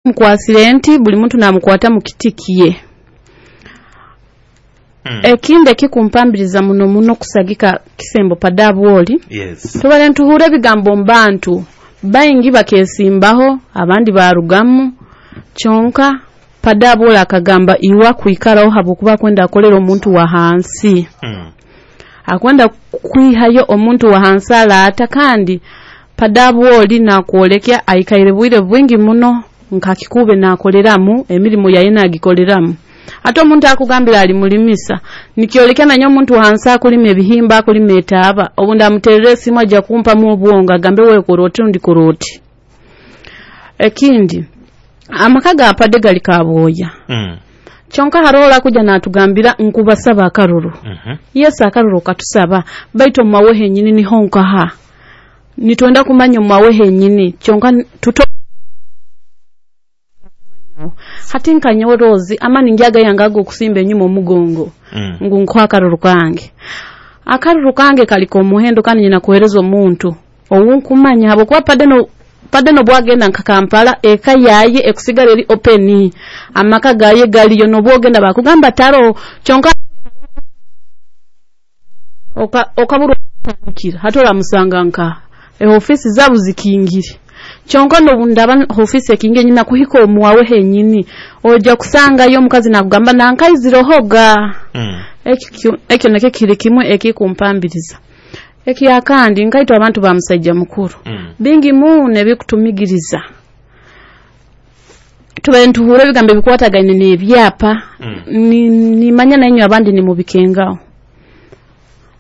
Mukwasire nti buli muntu namukwata mu kiti kiye. Ekindi ekikumpambiriza muno muno kusagika Kisembo Padabwoli, tubare ntuhura ebigambo mu bantu baingi bakesimbaho abandi barugamu, kyonka Padabwoli akagamba iwe akwikaraho habwokuba akwenda akolera omuntu wa hansi. Akwenda kwihayo omuntu wa hansi alaata, kandi Padabwoli nakwolekya aikaire bwire bwingi muno nka Kikuube nakoleramu emirimu yaye nagikoleramu. Ate omuntu akugambira ali mulimisa nikyolekya nanye omuntu wa hansi akulima ebihimba akulima etaaba, obundi amuterera esimu ajja kumpamu obwongo agambe wewe kora oti rundi kora oti. Ekindi amaka ga Pade gali Kabwoya. Kyonka haroho olakuja natugambira nkubasaba akaruru. Yesu akaruru katusaba, baitu omwawe henyini niho nkaha. Nitwenda kumanya omwawe henyini kyonka tuto hati nka nyowe Rose amani ngyaga yange agokusimba enyuma omugongo ngu nkuha akaruru kange. Akaruru kange kali k'omuhendo kandi nyina kuhereza omuntu owunkumanya habwokuba Pade nobwagenda nka Kampala eka yaye ekusigara eri open, amaka gaye galiyo nobwogenda bakugamba taro, kyonka okabura okutandikira hati oramusanga nka ehofisi zabu zikingire. Kyonka nobundaba hofisi ekingire nyina kuhika omwawe henyini ojja kusangayo omukazi nakugamba nankaizirohoga. Ekyo nakyo kiri kimwe ekikumpambiriza. Ekyakandi nkaitwe abantu ba musajja mukuru bingi muno ebikutumigiriza. Tubaire nituhura ebigambo ebikwatagaine n'ebyapa, nimanya nainywe abandi nimubikengaho.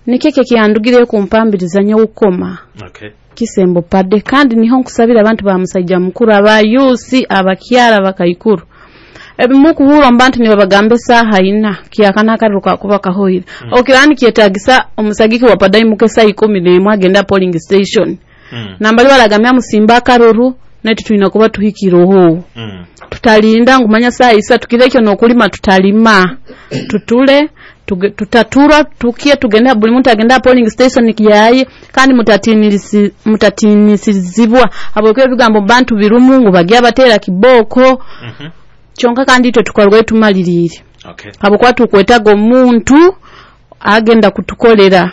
Nikyo ekyandugireyo kumpambiriza nyowe kukoma Kisembo Pade, kandi niho nkusabira abantu ba musajja mukuru, abayusi, abakyara, abakaikuru. Ebimukuhura omu bantu nibabagamba esaaha ina kyakana akaruru kakuba kahoire. Okiraba nikyetagisa omusagiki wa Pade aimuke esaaha 11 agenda polling station. Nambali baragambira musimba akaruru naitu twina kuba tuhikireho. Tutalinda ngu manya saa 3 kirekyo n'okulima tutalima. Tutule tutatura tukie tugende buli muntu agenda polling station yaye, kandi mutatinisizibwa habwokuba ebigambo bantu birumu ngu bagya batera kiboko. Kyonka kandi itwe tukarugayo tumaliriire. Habwokuba tukwetaga omuntu agenda kutukolera.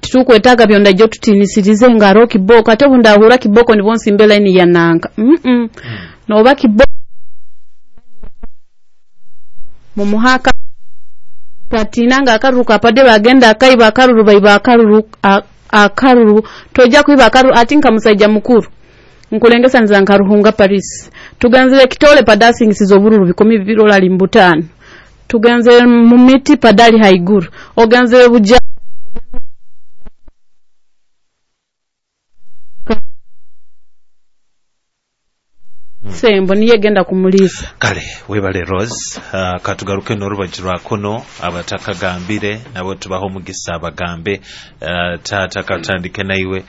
Titukwetaga byonda ijjo tutinisirize nga hariho kiboko, ate obu ndahura kiboko nibwo nsimba line ya nanka. Noba kiboko mumuhaka tatina nga akaruru ka Pade bagenda akaiba akaruru baiba akaruru tojja kuiba akaruru ati nka musajja mukuru. Nkulengesaniza nka Ruhunga Paris. Tugenzere Kitole Pade asingisiza obururu 200 olali 5. Tugenzere mu miti Pade ali haiguru. Ogenzere Buja Sembo niye genda kumulisa. Kale webale Rose, katugaruke n'orubaju rwa kuno abatakagambire nabo tubaho omugisa abagambe. Taata katandike naiwe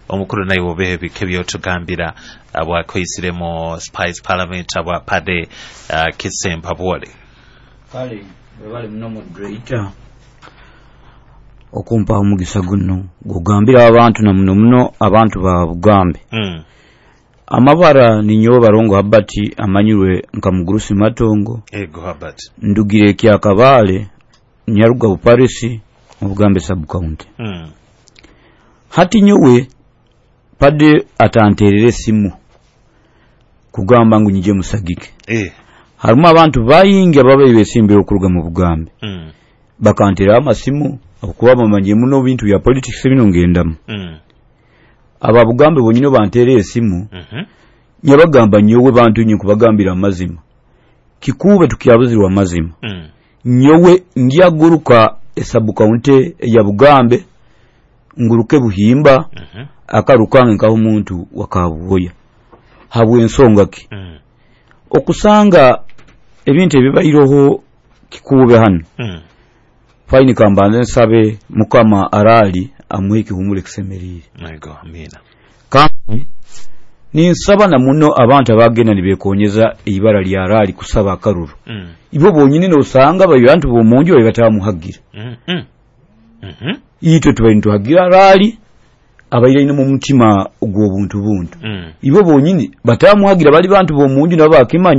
omukuru naiwe obehe bike byotugambira abwakoisiremo Spice Parliament abwa Pade Kisempa Bwole. Kale webale muno moderator okumpa omugisa guno gugambira abantu na muno muno abantu ba Bugambe. Amabara ninyowe Barongo Habati amanyirwe nka Mugurusi Matongo. Ego Habati. Ndugire Kyakabale Nyaruga Buparisi mu Bugambe sub county. Hati nyowe Pade atanterere simu kugamba ngu nyije musagike. Harimu abantu bayingi ababaire besimbire okuruga mu Bugambe. Bakantera amasimu okuba bamanye muno bintu bya politics bino ngendamu. Aba Bugambe bonyine bantere esimu. Nyabagamba nyowe bantu nyi kubagambira amazima. Kikuube tukyabuzirwa amazima. Nyowe ngyaguruka esabu county ya Bugambe nguruke Buhimba akarukange nkaho omuntu wakabuhoya. Habwe ensonga ki? Okusanga ebintu ebibairoho Kikuube hano. Faini kambanze nsabe Mukama arali amuhe ekihumuro ekisemerire. Ego, amina. Kandi ninsaba na muno abantu abagenda nibekonyeza ibara lya rali kusaba akaruru. Ibo bonyine nosanga abantu bomunju batamuhagira. Itwe tubaye nituhagira rali Abaire aine mu mutima gw'obuntu buntu. Ibo bonyini batamuhagira, bali bantu b'omunju nabo bakimanya.